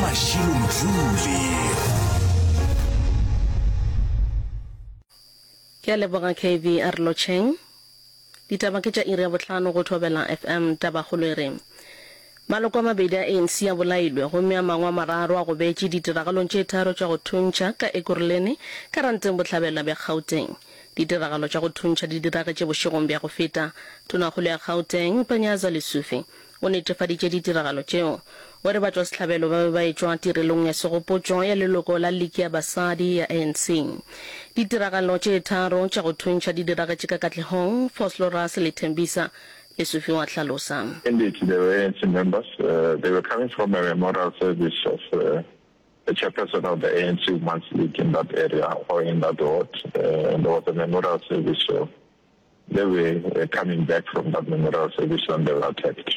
Mashilo Mdluli. Ke a leboga KV a re lotšheng. Ditaba ke tša iri ya bohlano go Thobela FM. Tabakgolo e re, Maloko a mabedi a ANC a bolailwe gomme a mangwe a mararo a gobetše ditiragalong tše tharo tša go thuntšha ka Ekurhuleni ka Ranteng Bohlabela bja Gauteng. Ditiragalo tša go thuntšha di diragetše bošegong bja go feta. Tonakgolo ya Gauteng, Panyaza Lesufi, o netefaditše ditiragalo tšeo. O re batšwasehlabelo ba be ba etšwa tirelong ya segopotšo ya leloko la Liki ya Basadi ya ANC. Ditiragalo tše tharo tša go thuntšha di diragetše ka Katlehong, Vosloorus le Tembisa, Lesufi wa hlalosa. Indeed, there were ANC members. They were coming from a memorial service of the chairperson of the ANC Women's League in that area or in that ward. And there was a memorial service, so they were coming back from that memorial service when they were attacked.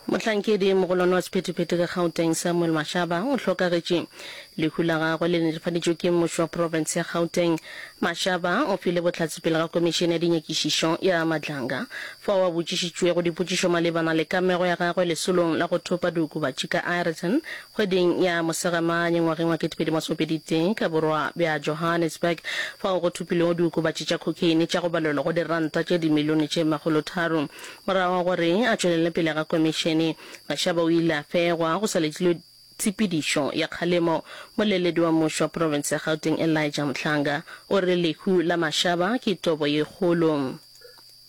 Mohlankedi mogolwane wa sephethephethe ka Gauteng Samuel Mashaba o hlokagetše. Lehu la gagwe le netefaditšwe ke mmušo wa profense ya Gauteng. Mashaba o file bohlatse pele ga komišene ya dinyakišišo ya Madlanga fao a botšišitšwego dipotšišo malebana le kamego ya gagwe lesolong la go thopa diokobatši ka Aeroton Kgweding ya Mosegamanye ngwageng wa 2021 ka borwa bja Johannesburg, fao go thopilwego diokobatši tša khokheine tša go balelwa go diranta tše dimilione tše makgolotharo. Morago ga gore a tšwelele pele ga komišene, Mashaba o ile a fegwa go sa letilwe tshepedišo ya kgalemo. Moleledi wa mmušo wa profense ya Gauteng Elijah Mhlanga o re lehu la Mashaba ke tobo ye kgolo.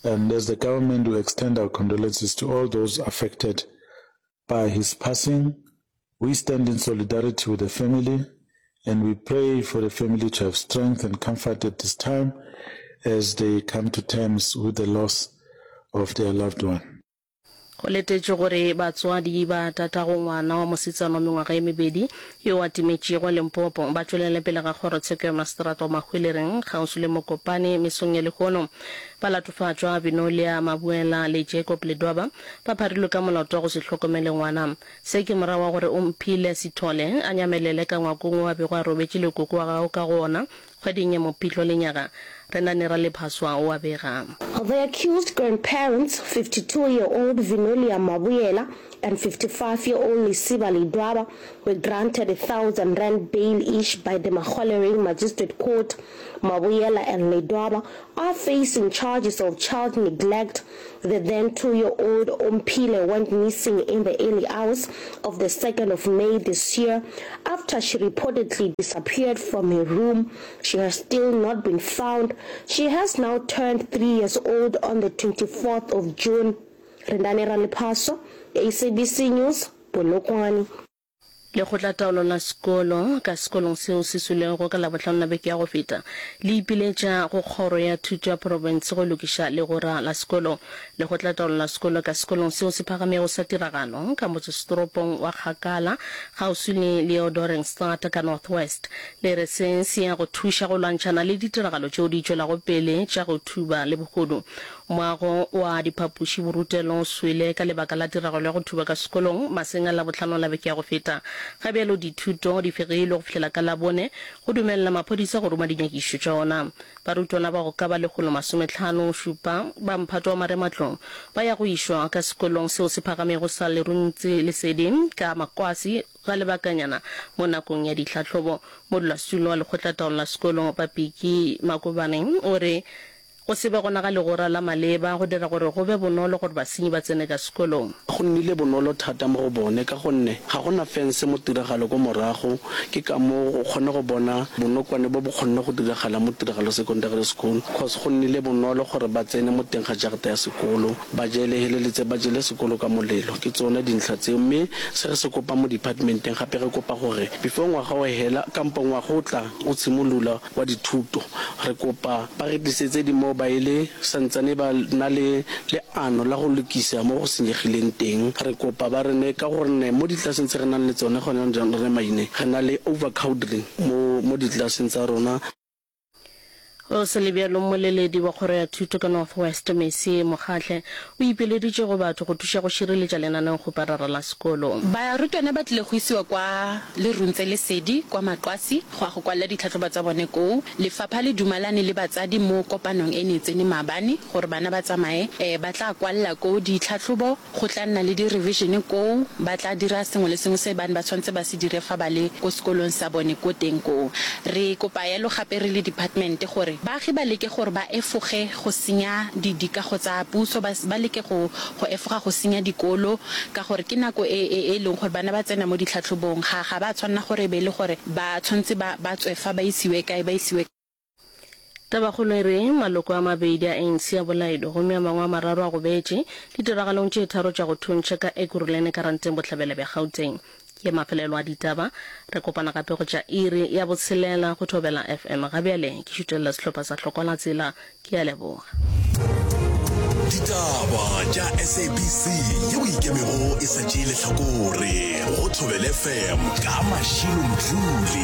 And as the government we extend our condolences to all those affected By his passing, we stand in solidarity with the family and we pray for the family to have strength and comfort at this time as they come to terms with the loss of their loved one. Go letetšwe gore batswadi ba tatago ngwana wa mosetsana wa mengwaga ye mebedi yo a timetšego Limpopo ba tšwelele pele ga kgorotsheko ya maseterata wa Mahwelereng kgauswi le Mokopane mesong ya lehono. Balatofatšwa Vinolia Mabuela le Jacob Ledwaba Ba pharilwe ka molato wa go se hlokomele ngwana. Se ke morago ga gore Omphile Sithole a nyamelele ka ngwakong wo a bego a robetše le koko wa gagwe ka go wona kgweding ya Mopitlo lenyaga. Renani Ralephaswa o a bega. The accused grandparents, 52-year-old Vinolia Mabuyela and 55-year-old Lesiba Ledwaba, were granted a thousand rand bail each by the Mahwelereng Magistrate Court. Mabuyela and Ledwaba are facing charges of child neglect The then two-year-old Omphile went missing in the early hours of the 2nd of May this year after she reportedly disappeared from her room. She has still not been found. She has now turned three years old on the 24th of June. Rendani Ralepaso, SABC News, Polokwane. Lekgotlataolo la sekolo ka sekolong seo se swilego ka Labohlano la beke ya go feta le ipiletša go kgoro ya thuto ya profense go lokiša legora la sekolo. Lekgotlataolo la sekolo ka sekolong seo se phagamego sa tiragalo ka motsesetoropong wa Kgakala kgauswi le Leeudoringstad ka North West le re se se ya go thuša go lwantšhana le ditiragalo tšeo di tšwelago pele tša go thuba le bohodu. Moago wa diphapoši borutelo o swele ka lebaka la tiragalo ya go thuba ka sekolong maseng a Labohlano la beke ya go feta. Ga bjalo dithuto di fegilwe go fihlela ka Labone go dumelela maphodisa go ruma dinyakišišo tša ona. Barutwana ba go ka ba lekgolo masometlhano šupa ba mphato wa marematlou ba ya go išwa ka sekolong seo se phagamego sa Leruntsi Lesedi ka Makwasi ga lebakanyana mo nakong ya ditlhahlobo. Modulasetulo wa lekgotlataolo la sekolo Papiki Makobane o re Go se be gona ga legora la maleba go dira gore go be bonolo gore basenyi ba tsene ka sekolong. Go nnile bonolo thata mo go bone ka gonne ga go na fense mo tiragalo ko morago, ke ka moo o kgone go bona bonokwane bo bo kgonne go diragala mo Tiragalo Secondary School cos go nnile bonolo gore ba tsene mo teng ga jarata ya sekolo ba jele heleletse ba jele sekolo ka molelo. Ke tsone dintlha tseo mme se re se kopang mo departmenteng gape re kopa gore before ngwaga o hela kampo ngwaga o tla o tshimolula wa dithuto. Re kopa ba re tlisetse dimobaele santsane ba na le leano la go lokisa mo go senyegileng teng. Re kopa ba re nee ka gonne mo ditlelaseng tse re nang le tsone gone jaanong re Maine re na le overcrowding mo mo ditlelaseng tsa rona. Go sa le bjalo, mmoleledi wa kgoro ya thuto ka North West, Mercy Mokgatle, o ipileditše go batho go thuša go šireletša lenaneokgoparara la sekolo. Barutwana ba tlile go isiwa kwa Leruntse Lesedi kwa Maqwasi go ya go kwalela ditlhahlobo tsa bone koo. Lefapha le dumalane le batsadi mo kopanong e ne e tsene maabane gore bana ba tsamaye ba tla kwalela koo ditlhahlobo. Go tla nna le di-revision koo, ba tla dira sengwe le sengwe se ba ne ba tshwanetse ba se dire fa ba le ko sekolong sa bone ko teng koo. Re kopa yalo gape re le department gore baagi ba leke gore ba efoge go senya di dikago tsa puso, ba ba leke go go efoga go senya dikolo ka gore ke nako e e e leng gore bana ba tsena mo ditlhatlhobong, ga ga ba tshwanela gore e be e le gore ba tshwanetse ba ba tswe fa ba isiwe kae ba isiwe. Tabakgolo e re, Maloko a mabedi a ANC a bolailwe gomme a mangwe a mararo a gobetše ditiragalong tše tharo tša go thuntšha ka Ekurhuleni Karanteng bohlabela bja Gauteng. Ke mafelelo a ditaba. Re kopana gape go tša iri ya botshelela go Thobela FM. Ga bjale ke šutelela sehlopha sa Hlokwa la Tsela. Ke a leboga. Ditaba tša SABC yeo e ikemego e sa tšee lehlakore go Thobela FM ka Mashilo Mdluli.